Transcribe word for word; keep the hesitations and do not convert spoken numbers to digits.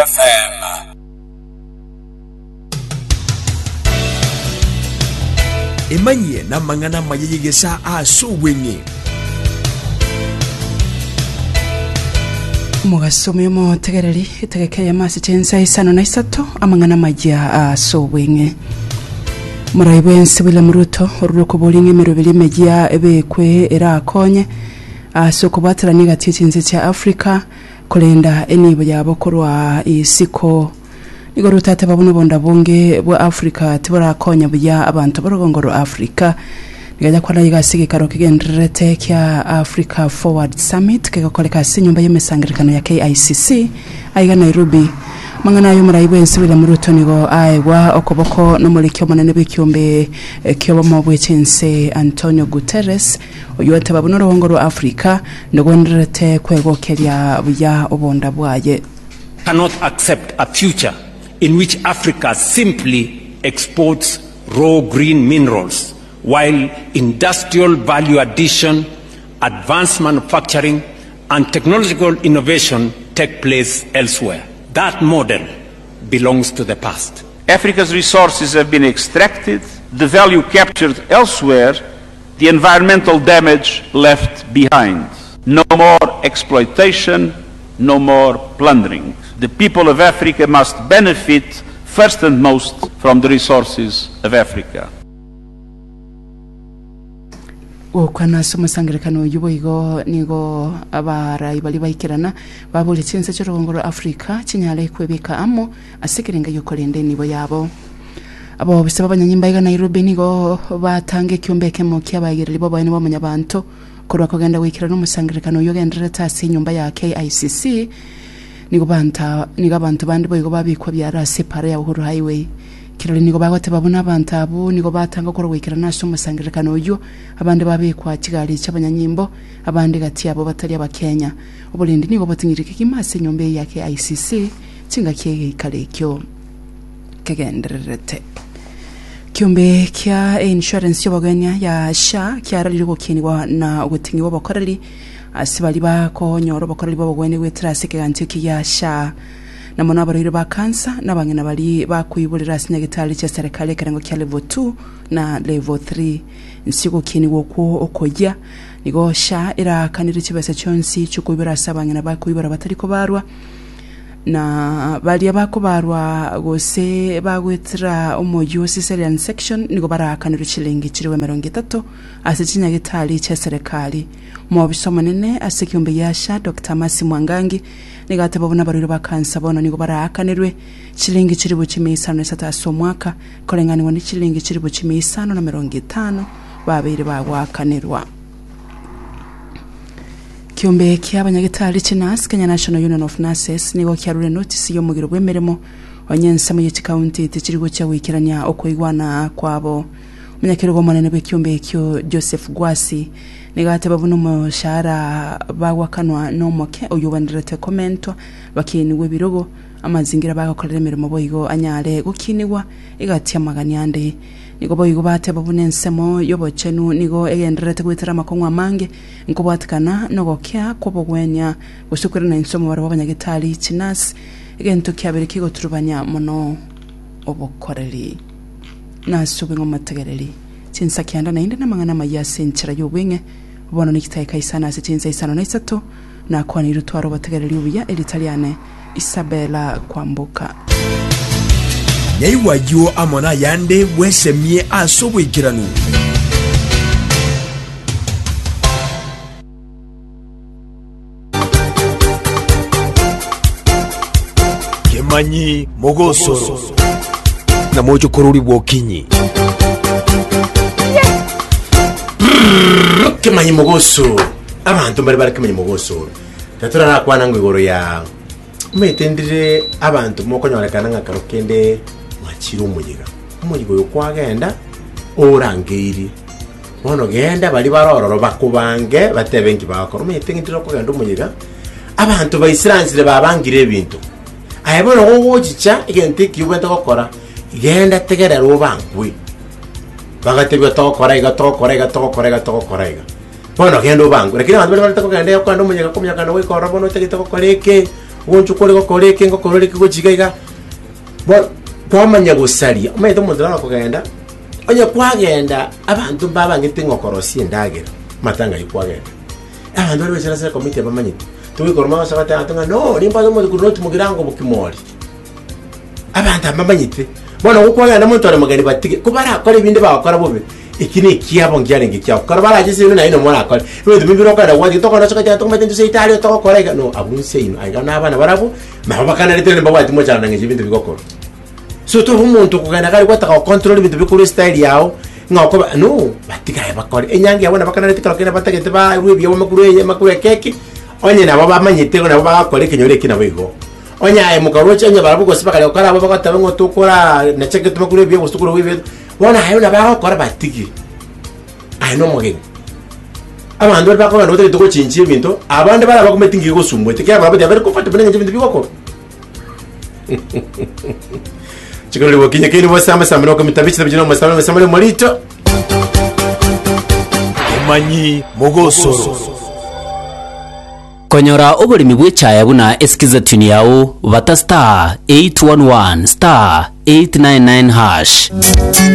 F M. Emanyie n'amang'ana amaya y'egesa ase obweng'e. Omogaso omotegereri etegeke ya masi chensa isano na isato amang'ana amaya ase obweng'e. Morai bwensi William Ruto oruroko boringe emeroberi emeyia ebekwe erakonye ase okobwaterania egati y'echinse chia Africa korenda enibo yabo korwa isiko. Nigo Ruto ateba buna obonda bunge bwa Africa tiborakonya buya abanto b'orugongo rwa Africa. Nigaja kwana iga ase egekaro kegendererete kia Africa Forward Summit kegokoreka ase enyomba y'emesangerekano ya K I C C aiga Nairobi. Mang'ana ayo omorai bwensi William Ruto nigo aegwa okoboko n'omoriki omonene bw'ekiombe ki'obomo bw'echinse Antonio Guterres oyo ateba buna orugongo rwa Africa ndogwendererete kwegokeria buya obonda bwaye. Cannot accept a future in which Africa simply exports raw green minerals while industrial value addition, advanced manufacturing, and technological innovation take place elsewhere. That model belongs to the past. Africa's resources have been extracted, the value captured elsewhere, the environmental damage left behind. No more exploitation, no more plundering. The people of Africa must benefit first and most from the resources of Africa. Gokwana ase omosangerekano oyo boigo nigo abarai baria baikerana babori chinse chi'orugongo rwa Africa chinyare kwebeka amo ase ekerenga giokorenda enibo yabo. Abobisa b'abanyanyimba iga Nairobi nigo batanga ekiombe ekemo kia abaegereri b'oboene bw'omonyabanto korwa kogenda goikerana omosangerekano oyo ogendererete ase enyomba ya K I C C. Nigo banta nigo abanto bande boigo babikwa biara ase epara ya Uhuru Highway. Kirori nigo bagoteba buna abanto abwo nigo batanga korwa goikerana ase omosangerekano oywo abande babikwa chigari chi'abanyanyimbo abande gati yabo batari abakenya. Oborendi nigo boting'ire kegima ase enyomba eye ya K I C C chingaki egeikaro ekio kegendererete. Kiombe kia insurance y'obogenia ya S H A kiararire gokinigwa na ogoting'iwa obokoreri ase bari bakonyora obokoreri bw'obogwenia goetera ase ekegancho eki gia S H A. Na mono abarwaire ba kansa n'abang'ina bari bakoiborera ase nyagetari chia serikali ekerengo kia level two na level three. Nsi gokinigwa okwo okoyia nigo S H A erakanire chibesa chionsi chiokoibora ase abang'ina bakoibora batari kobarwa na baria bakobarwa gose bagoetera omoyio cesarean section nigo barakanirwe chilingi chiriwe emerongo etato ase chinyagetari chia serikali. Mobisa omonene ase ekiombe gia S H A Doctor Mercy Mwangangi nigo ateba buna abarwaire ba kansa bono nigo baraakanirwe chilingi chiribu chimia isano na isato ase omwaka koreng'anigwa ne chilingi chiribu chimia isano na mirongo etano babeire bagwakanirwa. Kiombe kia abanyagetari chinas Kenya National Union of Nurses nigo kiarure notice y'omogiro bw'emeremo onye ensemo y'echikaunti tichiri gochia goikerania okoigwana kwabo. Omonyakerogo omonene bw'ekiombe ekio Joseph Gwasi nigo ateba buna omoshahara bagwakanwa n'omoke oyo obenderete komentwa bakinigwa ebirogo amazingira bagokorera emeremo boigo anyare gokinigwa egati amagani ande. Nigo boigo bateba buna ensemo y'obochenu nigo egendererete goetera amakong'u amange nkobwatikana nogokea kw'obogwenia gose kwerana ensomo barabwo abanyagetari chinas egento kiabere kigoturubania mono obokoreri. Nase obweng'e omotegereri chinsa kianda naende n'amang'ana amaya ase enchera y'obweng'e bono nikitaeka isano ase chinsa isano na isato nakwanire tware obotegereri obuya eritariane Isabella Kwamboka. Nyaiwayo amona yande bwesemie ase oboikeranu. Kemanyi mogosoro na mocho korori bwokinyi. Kemanyi mogosoro abantu bari bari kemanyi mogosoro tatura nakwana ngo igoro ya umetendire abantu mokonyorekana ngakaro kende mwachira omuyiga omuyiga oyo kwagenda orangeiri bono genda bari barororo bakubange batebe nki bakora umetendire okogenda omuyiga abantu baisiranzire babangire ebintu aye bono gogochicha egento eki obwente gokora genda tegerera obangwe bagatebia togokora iga togokora iga togokora iga togokora iga bono genda obangwe lakini abantu bari barete kogenda okogenda omuyiga komunyakana goikora bono otagete gokora eke Goncho kore gokora eke ngokora eke gochiga iga. Bo kwamanya gosaria, omanyete omonto naro okogenda, onye kwagenda abanto mbabangete ng'okorosia endagera, matanga aywo kwagenda. Abanto baria baichire ase ekomiti abamanyete, togoikoroma gose goteba abanto ng'a no, nimbwate omonto korwa north mugirango bokima oria. Abanto aba mbamanyete, bono gokwagenda monto ore mogeni batige, ko barakore ebinde bagokora bobe, eki na ekiabo nkiarenge ekiabo. Kero barache ase ino naye nomo orakore, ebinto binde bire okogenda gwatia tokogenda ase ogochia tokomanyete intwe seito aria togokora iga no, abwo nse ino aiga na abana barabwo, nabo bakanarete rende mbabwati mochando na eng'encho ebinto bigokorwa. So tobe omonto okogenda kare gwataka gocontrol ebinto bikorwa estyle yao, ng'a okoba no, batiga aye bakore. Enyangi yabo nabakanarete kero kende batagete barwe ebiegwa makuru eye makuru ekeki, onye nabo bamanyete igo nabo bagakora ekenyoro eki nabo igo. Onye aye mokaroche onye barabwo gose bakare gokora abwo bagoteba ng'a tokora nacheke tomakuru ebiegwa gose tokorwa ebiegwa, bono aye buna bagokora batige. Aye na omogeni. Abanto baria bakogenda otagete gochinchia ebinto, abande bare abakumeti ngiya gosumbuete, ekiagera barabwo they are very comfortable neng'encho ebinto bigokorwa. Chikorori bokinye keini bose amasamba na okomita bichita bichina omasamba amasamba omorito. Omanyi mogosoro. Konyora oboremi bw'echaya buna esikiza tune yao bata star eight one one star eight nine nine hash.